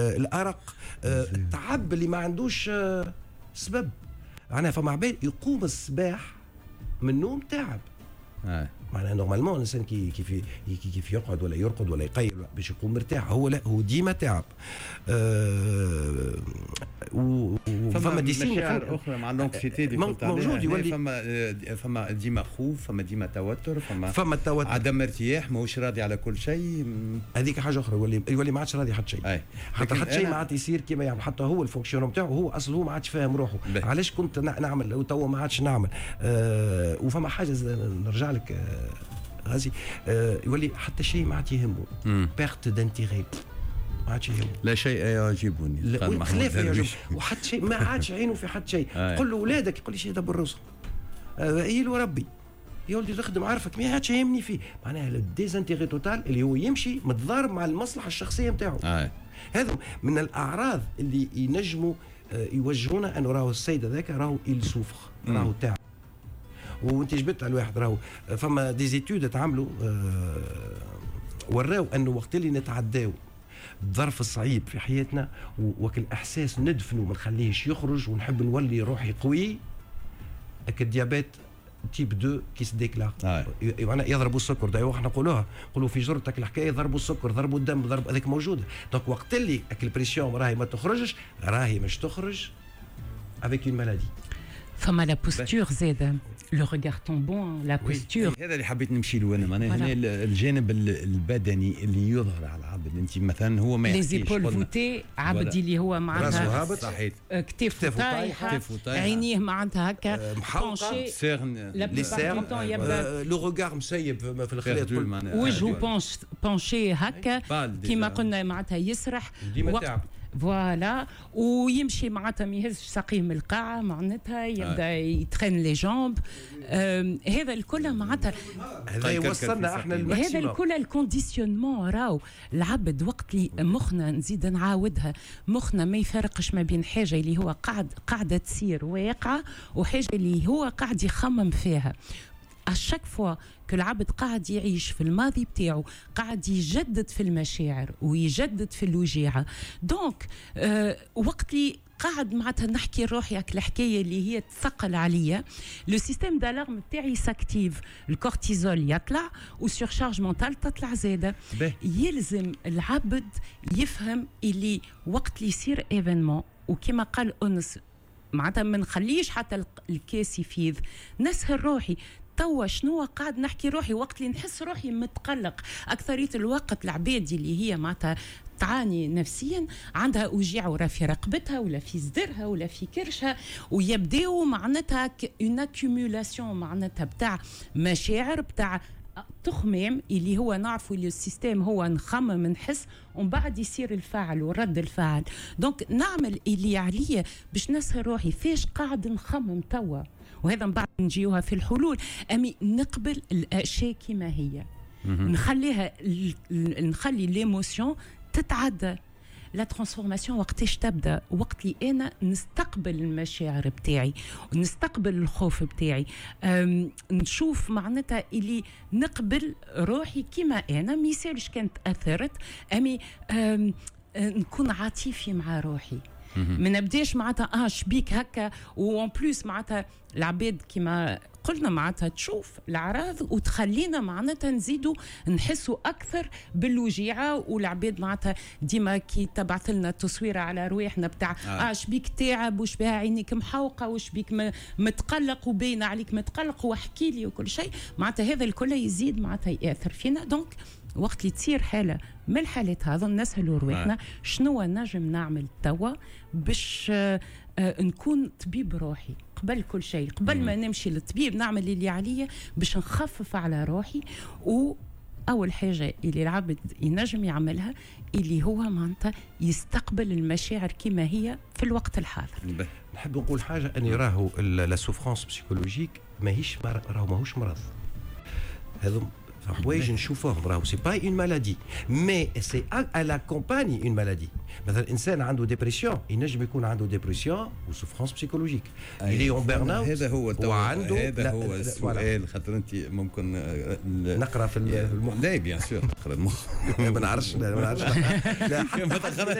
الارق، التعب اللي ما عندوش سبب. معناها فما عباد يقوم الصباح من النوم تعب. معناها normalement الانسان كي كيف كيف يقعد ولا يرقد ولا يقيل باش يقوم مرتاح، هو لا، هو ديما تعب. وفما des signes اخرى مع l'anxiété اللي موجود. يولي فما ديما خوف، فما ديما توتر، فما فما التوتر، عدم ارتياح، ماهوش راضي على كل شيء. هذيك حاجة اخرى، يولي ما عادش راضي حتى شيء، حتى شيء ما عاد يصير كيما يعمل. حتى هو ال fonctionnement نتاعو، هو اصلا هو ما عادش فاهم روحه، علاش كنت نعمل وتوا ما عادش نعمل. وفما حاجة نرجع لك غازي، يولي حتى شيء ما عاد يهمه، perte d'intérêt، ما عادش يهمه. لا شيء يعجبني. خلاف يعجب، وحتى شيء ما عادش عينه في حتى شيء. قل له اولادك، يقول لي شيء دبر راسهم، له ربي يا ولدي تخدم عارفك، ما عادش يهمني فيه. معناها ال désintérêt total اللي هو يمشي متضارب مع المصلحة الشخصية نتاعو. هذا من الاعراض اللي ينجموا يوجهونا انه راهو السيد هذاك راهو il souffre، راهو تعب. وانت جبت على الواحد، راهو فما des études تعملوا وراو انه وقت اللي نتعداو الظرف الصعيب في حياتنا وكل احساس ندفنه ما نخليهش يخرج ونحب نولي روحي قوي، ال diabète type 2 qui se déclare، معناها يضربوا السكر. دايما احنا نقولوها، نقولوا في جرتك الحكاية ضربوا السكر، ضربوا الدم، ضرب هذيك موجوده. donc وقت اللي ال pression راهي ما تخرجش، راهي مش تخرج avec une maladie. فما la posture زاده، le regard tombant، la posture. هذا اللي حبيت نمشي له انا، معناها هنا الجانب البدني اللي يظهر على العبد. انت مثلا هو ما les épaules voûtées، عبد اللي هو معناتها هابط، كتافه طايحه، عينيه معناتها هكا penchées، les cernes، le regard مسيب في الخلاط. وجهه penché هكا كيما قلنا، معناتها يسرح. ديما تعب. voilà، ويمشي معناتها ما يهزش ساقيه من القاعه، معناتها يبدا ي traîne les jambes. هذا الكل معناتها هذا يوصلنا احنا هذا الكل ال conditionnement. راهو العبد وقت اللي مخنا، نزيد نعاودها، مخنا ما يفرقش ما بين حاجة اللي هو قاعدة تصير واقعه وحاجه اللي هو قاعد يخمم فيها. à chaque fois que العبد قاعد يعيش في الماضي بتاعه، قاعد يجدد في المشاعر ويجدد في الوجيعه. donc وقت اللي قاعد معناتها نحكي روحي هاك الحكاية اللي هي تثقل عليا، le système d'alarme بتاعي s'active، ال cortisol يطلع و surcharge mentale تطلع زاده. يلزم العبد يفهم اللي وقت اللي يصير événement، وكما قال انس، معناتها ما نخليش حتى الكاس يفيض، نسهل روحي توا شنو قاعد نحكي روحي وقت اللي نحس روحي متقلق. أكثرية الوقت العباد اللي هي معناتها تعاني نفسيا عندها وجيع ورا في رقبتها ولا في صدرها ولا في كرشها، ويبداو معناتها une accumulation معناتها بتاع مشاعر، بتاع تخمام، اللي هو نعرفوا اللي ال système هو نخمم، نحس، ومن بعد يصير الفعل ورد الفعل. donc نعمل اللي عليا باش نسهل روحي فاش قاعد نخمم توا، وهذا من بعد نجيوها في الحلول. امي نقبل الاشياء كما هي، نخليها، نخلي l'émotion تتعدى. la transformation وقتاش تبدا؟ وقت اللي انا نستقبل المشاعر بتاعي ونستقبل الخوف بتاعي، نشوف معناتها اللي نقبل روحي كما انا، ما يسالش كانت اثرت، امي نكون عاطفي مع روحي، ما نبداش معناتها شبيك هكا. و en plus معناتها العباد كما قلنا معناتها تشوف الاعراض وتخلينا معناتها نزيدوا نحسوا اكثر بالوجيعه. والعباد معناتها ديما كي تبعث لنا تصويره على رواحنا بتاع شبيك تعب، وش بها عينيك محوقه، وش بيك متقلق، وباين عليك متقلق، واحكي لي وكل شيء، معناتها هذا الكل يزيد معناتها ياثر فينا. donc وقت اللي تصير حاله من الحالات هذا نسهلوا رواحنا، شنو نجم نعمل توا باش نكون طبيب روحي قبل كل شيء، قبل ما نمشي للطبيب نعمل اللي عليا باش نخفف على روحي. و اول حاجة اللي العبد ينجم يعملها اللي هو معناتها يستقبل المشاعر كما هي في الوقت الحاضر. نحب نقول حاجه، اني راهو la souffrance psychologique ماهيش، راهو ماهوش مرض. هذو حوايج نشوفوهم، راهو c'est pas une maladie، mais c'est elle accompagne une maladie. مثلا انسان عنده dépression، ينجم يكون عنده dépression و souffrance psychologique، اللي en burn-out. هذا هو وعنده هذا هو السؤال، خاطر انت ممكن نقرا في المخ. لا، bien sûr تقرا المخ. ما نعرفش، ما نعرفش، لا. ما تقراش.